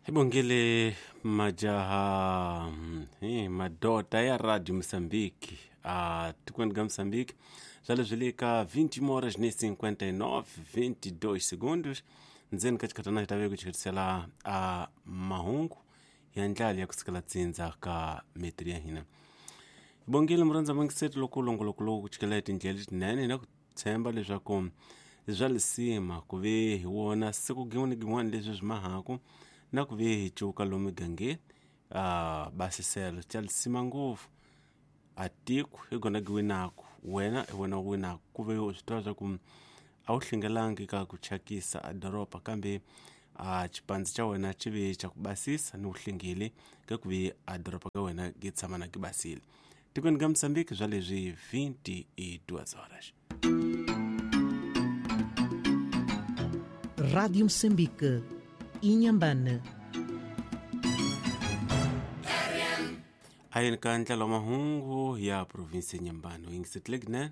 Hi bongile majaha hi madota ya Radio Moçambique a tikweni ka Moçambique swa leswi le ka 20 horas ni 59 22 segundos ndzeni ka xikhatana hi ta ve ku chiketisela a mahungu ya ndlala ya kusukela tsindza ka mitri ya hina. Hi bongile murhandza mangiseti loko longoloko lowu ku chikela hi tindlela letinene na ku tshemba leswaku swa lisima ku ve hi wona siku gin'wana ni gin'wana leswi swi mahaku na ku ve hi cuka lomu migangeni a basiselo xa lisima ngopfu a tiko hi gona gi winaku wena hi wena u winaku ku ve u swi tiva swa ku a wu hlengelangi ka ku thyakisa a doroba kambe a xipandzi xa wena xi ve xa ku basisa ni vuhlengeli ka ku ve a doroba ka wena gi tshama na gi basile. Tikweni ka Moçambique swa leswi 22 horas. Rádio Moçambique, Inhambane. Ayeni ka ndlela wa mahungu ya provinsi ya Nyambani u yingisetile kunene.